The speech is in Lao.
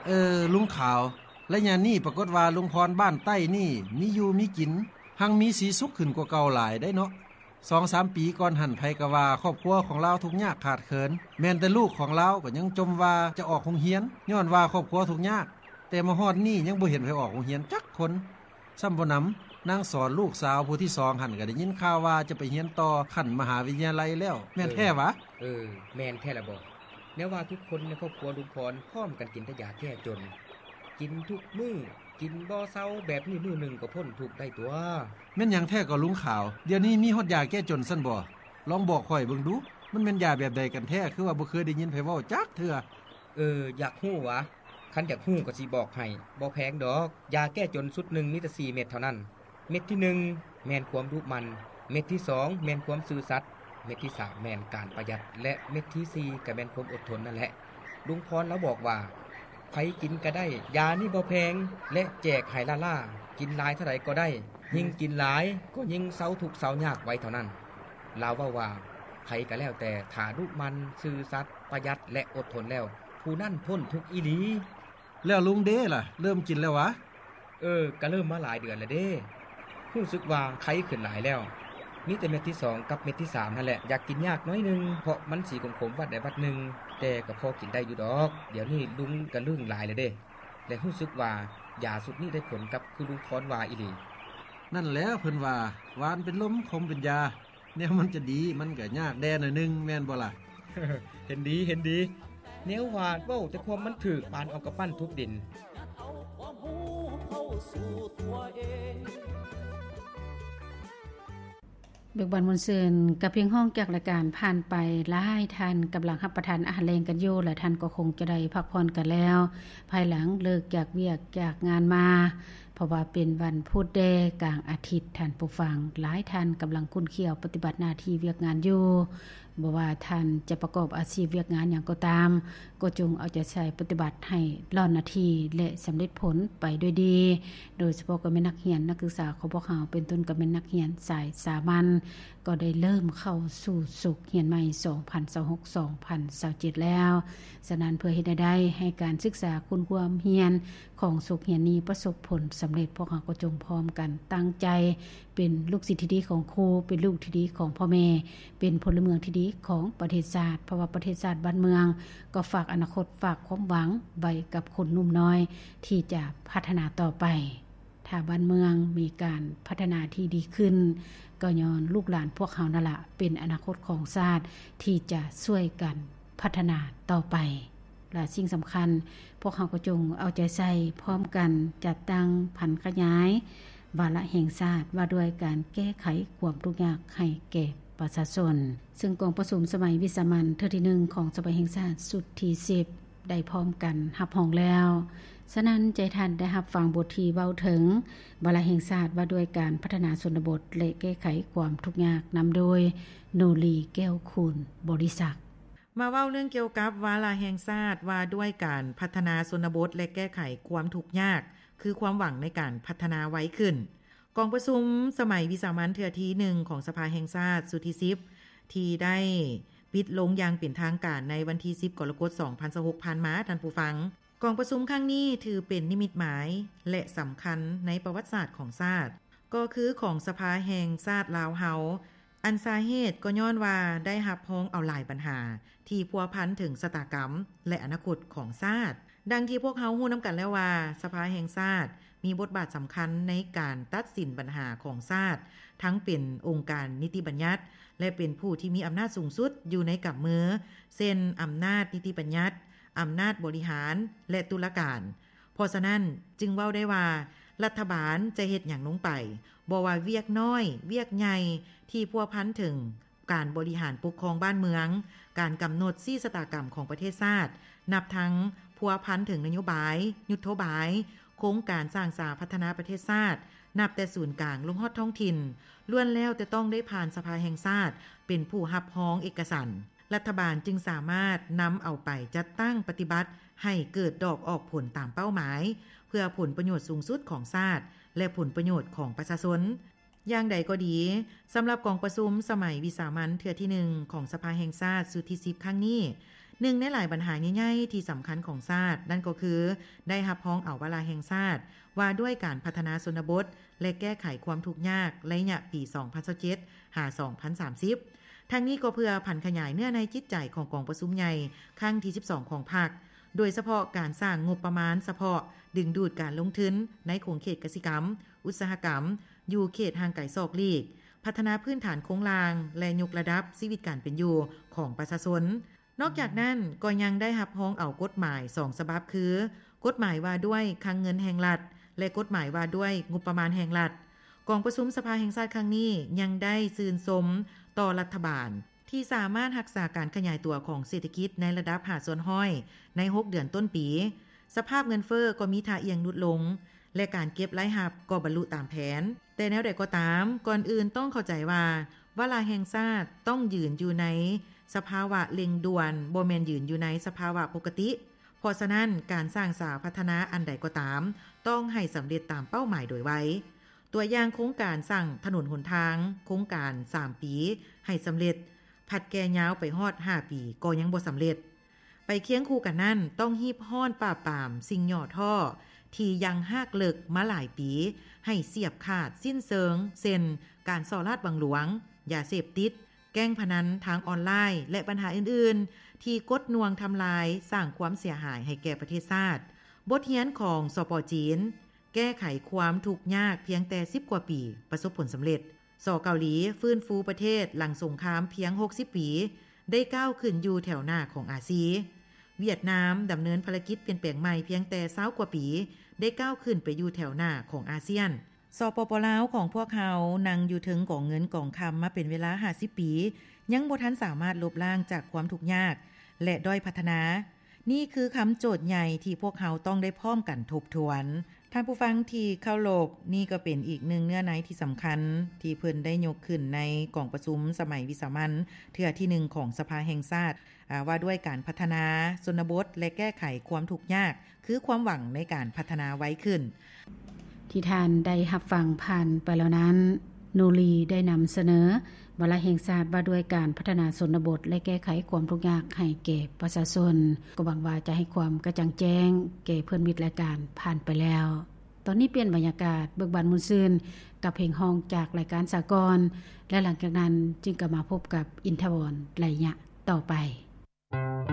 ເອີ ລຸງຂາວ, ໄລຍະນີ້ປາກົດວ່າລຸງພອນບ້ານໃຕ້ນີ້ມີຢູ່ມີກິນ ຮັ່ງມີສີສຸກຂຶ້ນກວ່າເກົ່າຫຼາຍໄດ໋ເນາະ. ສອງສາມປີກ່ອນຫັ້ນ ໃຜກໍວ່າຄອບຄົວຂອງລາວທຸກຍາກຂາດເຂີນ, ແມ່ນແຕ່ລູກຂອງລາວກໍຍັງຈົ່ມວ່າຈະອອກໂຮງຮຽນ ຍ້ອນວ່າຄອບຄົວທຸກຍາກ, ແຕ່ມາຮອດນີ້ຍັງບໍ່ເຫັນໃຜອອກໂຮງຮຽນຈັກຄົນ. ຊ້ຳບໍ່ໜຳ, ນາງສອນລູກສາວຜູ້ທີສອງຫັ້ນ ກໍໄດ້ຍິນຂ່າວວ່າຈະໄປຮຽນຕໍ່ຂັ້ນມະຫາວິທະຍາໄລແລ້ວ, ແມ່ນແທ້ຫວາ? ເອີ ແມ່ນແທ້ລະບໍ. ແນວວ່າທຸກຄົນໃນຄອບຄົວລຸງພອນພ້ອມກັນກິນແຕ່ຢາແກ້ຈົນ, ກິນທຸກມື້, ກິນບໍ່ເຊົາ, ແບບນີ້ມື້ໜຶ່ງກໍພົ້ນທຸກໄດ້ຕົວະ. ແມ່ນຫຍັງແທ້ກໍລຸງຂາວ? ດຽວນີ້ມີຮອດຢາແກ້ຈົນຊັ້ນບໍ? ລອງບອກຂ້ອຍເບິ່ງດູ, ມັນແມ່ນຢາແບບໃດກັນແທ້? ຄືວ່າບໍ່ເຄີຍໄດ້ຍິນໃຜເວົ້າຈັກເທື່ອ. ເອີ ຢາກຮູ້ຫວາ? ຄັນຢາກຮູ້ກໍຊິບອກໃຫ້, ບໍ່ແພງດອກ. ຢາແກ້ຈົນຊຸດໜຶ່ງມີແຕ່ສີ່ເມັດເທົ່ານັ້ນ. ເມັດທີໜຶ່ງແມ່ນຄວາມດຸໝັ່ນ, ເມັດທີສອງແມ່ນຄວາມຊື່ສັດ, ເມັດທີສາມແມ່ນການປະຢັດ ແລະ ເມັດທີສີ່ກໍແມ່ນຄວາມອົດທົນນັ້ນແຫຼະ. ລຸງພອນລາວບອກວ່າ ໃຜກິນກໍໄດ້, ຢານີ້ບໍ່ແພງ ແລະ ແຈກໃຫ້ລ້າໆ, ກິນຫຼາຍເທົ່າໃດກໍໄດ້, ຍິ່ງກິນຫຼາຍກໍຍິ່ງເຊົາທຸກເຊົາຍາກໄວເທົ່ານັ້ນ. ລາວເວົ້າວ່າ ໃຜກໍແລ້ວແຕ່ ຖ້າດຸໝັ່ນ, ຊື່ສັດ, ປະຢັດ ແລະ ອົດທົນແລ້ວ, ຜູ້ນັ້ນພົ້ນທຸກອີ່ຫຼີ. ແລ້ວລຸງເດລະ ເລີ່ມກິນແລ້ວຫວາ? ເອີ ກະເລີ່ມມາຫຼາຍເດືອນແລ້ວເດ້. ຮູ້ສຶກວ່າໄຄຂຶ້ນຫຼາຍແລ້ວ. ມີແຕ່ເມັດທີສອງກັບເມັດທີສາມຫັ້ນແຫຼະ ຢາກກິນຍາກໜ້ອຍໜຶ່ງ ເພາະມັນສີຂົມໆວັດໃດວັດໜຶ່ງ, ແຕ່ກໍພໍກິນໄດ້ຢູ່ດອກ. ດຽວນີ້ລຸງກະລຶ້ງຫຼາຍແລ້ວເດ້ ແລະ ຮູ້ສຶກວ່າຢາຊຸດນີ້ໄດ້ຜົນກັບຄືລຸງພອນວ່າອີ່ຫຼີ. ນັ້ນແຫຼະ ເພິ່ນວ່າ ຫວານເປັນລົມ ຂົມເປັນຢາ. ແນວມັນຈະດີ ມັນກະຍາກແດ່ໜ້ອຍໜຶ່ງ ແມ່ນບໍ່ລະ? ເຫັນດີ ເຫັນດີ. ແນວວ່າເວົ້າແຕ່ຄວາມມັນຖືກ ປານເອົາກຳປັ້ນທຸບດິນ. ເບີກບານມ່ວນຊື່ນ ກັບພຽງຮ້ອງຈາກລາຍການຜ່ານໄປ, ຫຼາຍທ່ານກຳລັງຮັບປະທານອາຫານແລງກັນຢູ່ ແລະ ທ່ານກໍຄົງຈະໄດ້ພັກຜ່ອນກັນແລ້ວ ພາຍຫຼັງເລີກຈາກວຽກຈາກງານມາ. ເພາະວ່າເປັນວັນພຸດແດ່ກາງອາທິດ, ທ່ານຜູ້ຟັງ, ຫຼາຍທ່ານກຳລັງຂຸ້ນຂ້ຽວປະຕິບັດໜ້າທີ່ວຽກງານຢູ່. ບໍ່ວ່າທ່ານຈະປະກອບອາຊີບວຽກງານຫຍັງກໍຕາມ, ກໍຈົ່ງເອົາໃຈໃສ່ປະຕິບັດໃຫ້ຫຼ້ອນໜ້າທີ່ ແລະ ສຳເລັດຜົນໄປດ້ວຍດີ. ໂດຍສະເພາະກໍແມ່ນນັກຮຽນ, ນັກສຶກສາຂອງພວກເຮົາ, ເປັນຕົ້ນກໍແມ່ນນັກຮຽນສາຍສາມັນ, ກໍໄດ້ເລີ່ມເຂົ້າສູ່ສົກຮຽນໃໝ່ ສອງພັນຊາວຫົກ ສອງພັນຊາວເຈັດແລ້ວ. ສະນັ້ນ, ເພື່ອເຮັດໃຫ້ໄດ້ໃຫ້ການສຶກສາຄຸນຄວາມຮຽນຂອງສົກຮຽນນີ້ປະສົບຜົນສຳເລັດ, ພວກເຮົາກໍຈົ່ງພ້ອມກັນຕັ້ງໃຈເປັນລູກສິດທີ່ດີຂອງຄູ, ເປັນລູກທີ່ດີຂອງພໍ່ແມ່, ເປັນພົນລະເມືອງທີ່ດີຂອງປະເທດຊາດ, ເພາະວ່າປະເທດຊາດບ້ານເມືອງກໍຝາກອະນາຄົດ, ຝາກຄວາມຫວັງໄວ້ກັບຄົນໜຸ່ມນ້ອຍທີ່ຈະພັດທະນາຕໍ່ໄປ. ຖ້າບ້ານເມືອງມີການພັດທະນາທີ່ດີຂຶ້ນ, ກໍຍ້ອນລູກຫຼານພວກເຮົານັ້ນລະ ເປັນອະນາຄົດຂອງຊາດທີ່ຈະຊ່ວຍກັນພັດທະນາຕໍ່ໄປ. ແລະ ສິ່ງສຳຄັນ, ພວກເຮົາກໍຈົ່ງເອົາໃຈໃສ່ພ້ອມກັນ ຈັດຕັ້ງຜັນຂະຫຍາຍວາລະແຫ່ງຊາດວ່າດ້ວຍການແກ້ໄຂຄວາມທຸກຍາກໃຫ້ແກ່ປະຊາຊົນ, ເຊິ່ງກອງປະຊຸມສະໄໝວິສາມັນເທື່ອທີໜຶ່ງຂອງສະໄໝແຫ່ງຊາດຊຸດທີສິບ ໄດ້ພ້ອມກັນຮັບຮອງແລ້ວ. ສະນັ້ນ, ໃຈທ່ານໄດ້ຮັບຟັງບົດທີ່ເວົ້າເຖິງວາລະແຫ່ງຊາດວ່າດ້ວຍການພັດທະນາຊົນນະບົດ ແລະ ແກ້ໄຂຄວາມທຸກຍາກ, ນຳໂດຍ ໂນລີ ແກ້ວຄູນບໍລິສັກ. ມາເວົ້າເລື່ອງກ່ຽວກັບວາລະແຫ່ງຊາດວ່າດ້ວຍການພັດທະນາຊົນນະບົດ ແລະ ແກ້ໄຂຄວາມທຸກຍາກ ຄືຄວາມຫວັງໃນການພັດທະນາໄວຂຶ້ນ. ກອງປະຊຸມສະໄໝວິສາມັນເທື່ອທີໜຶ່ງຂອງສະພາແຫ່ງຊາດຊຸດທີສິບ ທີ່ໄດ້ປິດລົງຢ່າງເປັນທາງການໃນວັນທີສິບ ກໍລະກົດ ສອງພັນຊາວຫົກ ຜ່ານມາ, ທ່ານຜູ້ຟັງ, ກອງປະຊຸມຄັ້ງນີ້ຖືເປັນນິມິດໝາຍ ແລະ ສຳຄັນໃນປະຫວັດສາດຂອງຊາດ, ກໍຄືຂອງສະພາແຫ່ງຊາດລາວເຮົາ, ອັນສາເຫດກໍຍ້ອນວ່າໄດ້ຮັບຮອງເອົາຫຼາຍບັນຫາທີ່ພົວພັນເຖິງຊະຕາກຳ ແລະ ອະນາຄົດຂອງຊາດ. ດັ່ງທີ່ພວກເຮົາຮູ້ນຳກັນແລ້ວວ່າ ສະພາແຫ່ງຊາດມີບົດບາດສຳຄັນໃນການຕັດສິນບັນຫາຂອງຊາດ, ທັງເປັນອົງການນິຕິບັນຍັດ ແລະ ເປັນຜູ້ທີ່ມີອຳນາດສູງສຸດຢູ່ໃນກຳມື, ເຊັ່ນ ອຳນາດນິຕິບັນຍັດ, ອຳນາດບໍລິຫານ ແລະ ຕຸລາການ. ເພາະສະນັ້ນ, ຈຶ່ງເວົ້າໄດ້ວ່າ ລັດຖະບານຈະເຮັດຫຍັງລົງໄປ, ບໍ່ວ່າວຽກນ້ອຍ, ວຽກໃຫຍ່ ທີ່ພົວພັນເຖິງການບໍລິຫານປົກຄອງບ້ານເມືອງ, ການກຳນົດຊີ້ຊະຕາກຳຂອງປະເທດຊາດ, ນັບທັງພົວພັນເຖິງນະໂຍບາຍ, ຍຸດໂທບາຍ, ໂຄງການສ້າງສາພັດທະນາປະເທດຊາດ, ນັບແຕ່ສູນກາງລົງຮອດທ້ອງຖິ່ນ, ລ້ວນແລ້ວແຕ່ຕ້ອງໄດ້ຜ່ານສະພາແຫ່ງຊາດເປັນຜູ້ຮັບຮອງເອກະສັນ. ລັດຖະບານຈຶ່ງສາມາດນຳເອົາໄປຈັດຕັ້ງປະຕິບັດໃຫ້ເກີດດອກອອກຜົນຕາມເປົ້າໝາຍ, ເພື່ອຜົນປະໂຫຍດສູງສຸດຂອງຊາດ ແລະ ຜົນປະໂຫຍດຂອງປະຊາຊົນ. ຢ່າງໃດກໍດີ, ສຳລັບກອງປະຊຸມສະໄໝວິສາມັນເທື່ອທີໜຶ່ງຂອງສະພາແຫ່ງຊາດຊຸດທີສິບຄັ້ງນີ້, ໜຶ່ງໃນຫຼາຍບັນຫາໃຫຍ່ໆທີ່ສຳຄັນຂອງຊາດ ນັ້ນກໍຄືໄດ້ຮັບຮອງເອົາວາລະແຫ່ງຊາດວ່າດ້ວຍການພັດທະນາຊົນນະບົດ ແລະ ແກ້ໄຂຄວາມທຸກຍາກໄລຍະປີສອງພັນຊາວເຈັດ ຫາ ສອງພັນສາມສິບ. ທັງນີ້ກໍເພື່ອຜັນຂະຫຍາຍເນື້ອໃນຈິດໃຈຂອງກອງປະຊຸມໃຫຍ່ຄັ້ງທີສິບສອງຂອງພັກ, ໂດຍສະເພາະການສ້າງງົບປະມານສະເພາະດຶງດູດການລົງທຶນໃນຂົງເຂດກະສິກຳ, ອຸດສາຫະກຳ, ຢູ່ເຂດຫ່າງໄກສອກຫຼີກ, ພັດທະນາພື້ນຖານໂຄງລ່າງ ແລະ ຍົກລະດັບຊີວິດການເປັນຢູ່ຂອງປະຊາຊົນ. ນອກຈາກນັ້ນກໍຍັງໄດ້ຮັບຮອງເອົາກົດໝາຍສອງສະບັບ ຄື ກົດໝາຍວ່າດ້ວຍຄັງເງິນແຫ່ງລັດ ແລະ ກົດໝາຍວ່າດ້ວຍງົບປະມານແຫ່ງລັດ. ກອງປະຊຸມສະພາແຫ່ງຊາດຄັ້ງນີ້ຍັງໄດ້ຊື່ນຊົມຕໍ່ລັດຖະບານ ທີ່ສາມາດຮັກສາການຂະຫຍາຍຕົວຂອງເສດຖະກິດໃນລະດັບຫ້າສ່ວນຮ້ອຍໃນຫົກເດືອນຕົ້ນປີ. ສະພາບເງິນເຟີ້ກໍມີທ່າອ່ຽງຫຼຸດລົງ ແລະ ການເກັບລາຍຮັບກໍບັນລຸຕາມແຜນ. ແຕ່ແນວໃດກໍຕາມ, ກ່ອນອື່ນຕ້ອງເຂົ້າໃຈວ່າ ວາລະແຫ່ງຊາດຕ້ອງຢືນຢູ່ໃນສະພາວະເລັ່ງດ່ວນ, ບໍ່ແມ່ນຢືນຢູ່ໃນສະພາວະປົກກະຕິ. ເພາະສະນັ້ນ, ການສ້າງສາພັດທະນາອັນໃດກໍຕາມ ຕ້ອງໃຫ້ສຳເລັດຕາມເປົ້າໝາຍໂດຍໄວ. ຕົວຢ່າງໂຄງການສ້າງຖະໜົນຫົນທາງ, ໂຄງການສາມປີໃຫ້ສຳເລັດ, ພັດແກ່ຍາວໄປຮອດຫ້າປີກໍຍັງບໍ່ສຳເລັດ. ໄປຄຽງຄູ່ກັນນັ້ນ, ຕ້ອງຮີບຮ້ອນປາບປາມສິ່ງຫຍໍ້ທໍ້ທີ່ຍັງຮາກເລິກມາຫຼາຍປີໃຫ້ສຽບຂາດສິ້ນເຊີງ, ເຊັ່ນ ການສໍ້ລາດບັງຫຼວງ, ຢາເສບຕິດ, ແກ້ງພະນັນທາງອອນລາຍ ແລະ ບັນຫາອື່ນໆ ທີ່ກົດໜ່ວງທຳລາຍ, ສ້າງຄວາມເສຍຫາຍໃຫ້ແກ່ປະເທດຊາດ. ບົດຮຽນຂອງ ສປ ຈີນ ແກ້ໄຂຄວາມທຸກຍາກພຽງແຕ່ສິບກວ່າປີປະສົບຜົນສຳເລັດ. ສ ເກົາຫຼີຟື້ນຟູປະເທດຫຼັງສົງຄາມພຽງຫົກສິບປີ ໄດ້ກ້າວຂຶ້ນຢູ່ແຖວໜ້າຂອງອາຊີ. ຫວຽດນາມດຳເນີນພາລະກິດປ່ຽນແປງໃໝ່ພຽງແຕ່ຊາວກວ່າປີ ໄດ້ກ້າວຂຶ້ນໄປຢູ່ແຖວໜ້າຂອງອາຊຽນ. ສປປ ລາວຂອງພວກເຮົານັ່ງຢູ່ເທິງກອງເງິນກອງຄຳມາເປັນເວລາຫ້າສິບປີ ຍັງບໍ່ທັນສາມາດລົບລ້າງຈາກຄວາມທຸກຍາກ ແລະ ດ້ອຍພັດທະນາ. ນີ້ຄືຄຳໂຈດໃຫຍ່ທີ່ພວກເຮົາຕ້ອງໄດ້ພ້ອມກັນທົບທວນ. ທ່ານຜູ້ຟັງທີ່ເຄົາລົບ, ນີ້ກໍເປັນອີກໜຶ່ງເນື້ອໃນທີ່ສຳຄັນທີ່ເພິ່ນໄດ້ຍົກຂຶ້ນໃນກອງປະຊຸມສະໄໝວິສາມັນເທື່ອທີໜຶ່ງຂອງສະພາແຫ່ງຊາດ, ອາ, ວ່າດ້ວຍການພັດທະນາຊົນນະບົດ ແລະ ແກ້ໄຂຄວາມທຸກຍາກ ຄືຄວາມຫວັງໃນການພັດທະນາໄວຂຶ້ນ. ທີ່ທ່ານໄດ້ຮັບຟັງຜ່ານໄປແລ້ວນັ້ນ, ນູລີໄດ້ນຳສະເໜີວາລະແຫ່ງຊາດວ່າດ້ວຍການພັດທະນາຊົນນະບົດ ແລະ ແກ້ໄຂຄວາມທຸກຍາກໃຫ້ແກ່ປະຊາຊົນ. ກໍຫວັງວ່າຈະໃຫ້ຄວາມກະຈ່າງແຈ້ງແກ່ເພື່ອນມິດລາຍການຜ່ານໄປແລ້ວ. ຕອນນີ້ປ່ຽນບັນຍາກາດ, ເບີກບານມ່ວນຊື່ນກັບເພງຮ້ອງຈາກລາຍການສາກອນ ແລະ ຫຼັງຈາກນັ້ນຈຶ່ງກັບມາພົບກັບອິນທະວອນໄລຍະຕໍ່ໄປ.